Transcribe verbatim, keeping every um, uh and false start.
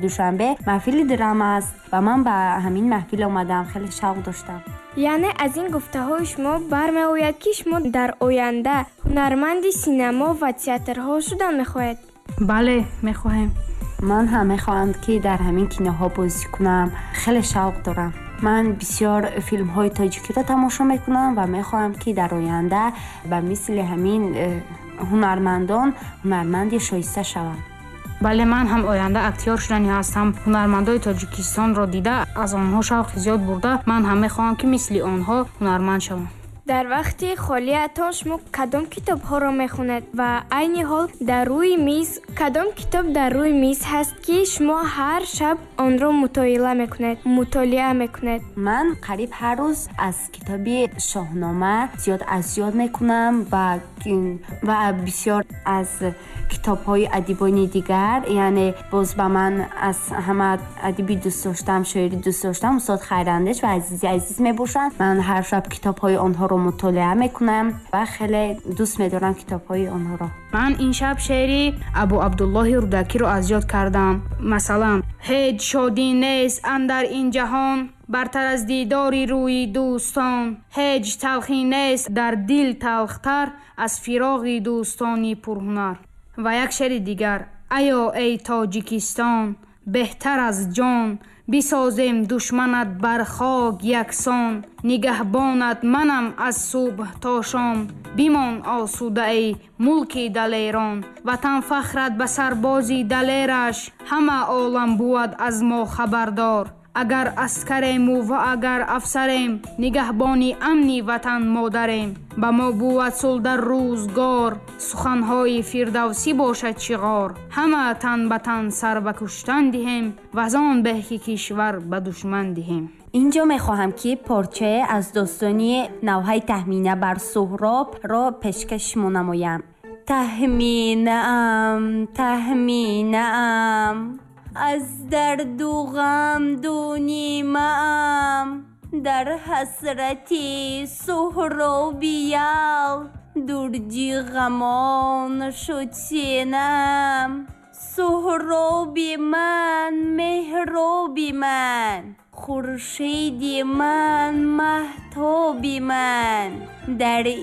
Душанбе маҳфили драма аст ва ман ба ҳамин маҳфил омадам, хеле шавқ доштам. Яъне аз ин гуфтаҳои шумо бармеояд, ки шумо дар оянда ҳунарманди синамо ва театрҳо шудан мехоҳед? Бале, мехоҳем. Ман ҳам мехоҳам, ки дар ҳамин киноҳо бозӣ кунам, хеле шавқ дорам. Ман бисёр филмҳои тоҷикиро тамошо мекунам ва мехоҳам, ки дар оянда ба мисли ҳамин э, ҳунармандон ҳунарманди шоиста шавам. Бале, ман ҳам оянда актёр шудани ҳастам. Ҳунармандои Тоҷикистонро дида, аз онҳо шавқи зиёд бурда, ман ҳам мехоҳам, ки мисли онҳо ҳунарманд шавам. Дар вақти холиатон шумо кадом китобҳоро мехонед ва айни ҳол дар рӯи миз кадом китоб дар рӯи миз ҳаст, ки шумо ҳар шаб онро мутоила мекунед, мутолиа мекунед? Ман қариб ҳар рӯз аз китоби Шоҳнома зиёд аз ёд мекунам ва ва бисёр аз китобҳои адибони дигар. Яъне боз ба ман аз ҳама адиби дӯст доштам, шоири дӯст доштам устод Хайрандеш ва Азизи Азиз мебошанд. Ман ҳар шаб китобҳои онҳоро мутолиа мекунам ва хеле дӯст медорам китобҳои онҳоро. Ман ин шаб шеъри Абу Абдуллоҳи Рӯдакиро аз ёд кардам. Масалан, ҳеҷ шодӣ нест андар ин ҷаҳон, бартар аз дидори рӯи дӯстон, ҳеҷ талхӣ нест дар дил талхтар аз фироғи дӯстони пурҳунар. Ва як шеъри дигар: аё эй Тоҷикистон, беҳтар аз ҷон, бисозем душманат бар хок яксон, нигаҳбонат манам аз субҳ то шом, бимон осуда эй мулки далерон, ватан фахрат ба сарбози далераш, ҳама олам бувад аз мо хабардор, агар аскарему ва агар афсарем, нигаҳбони амни ватан модарем, ба мо бувад сулҳ дар рӯзгор, суханҳои Фирдавсӣ бошад шиғор, ҳама тан ба тан сар ба куштан диҳем, вазон беҳ ки кишвар ба душман диҳем. Инҷо мехоҳам, ки порчае аз достони Навҳаи Таҳмина бар Суҳробро пешкаш шумо намоям. Таҳминаам, таҳминаам, аз дарду ғам дунимаам, дар ҳасрати Суҳробиял дурҷи ғамон шуд синаам. Суҳроби ман, меҳроби ман, хуршеди ман, маҳтоби ман, дар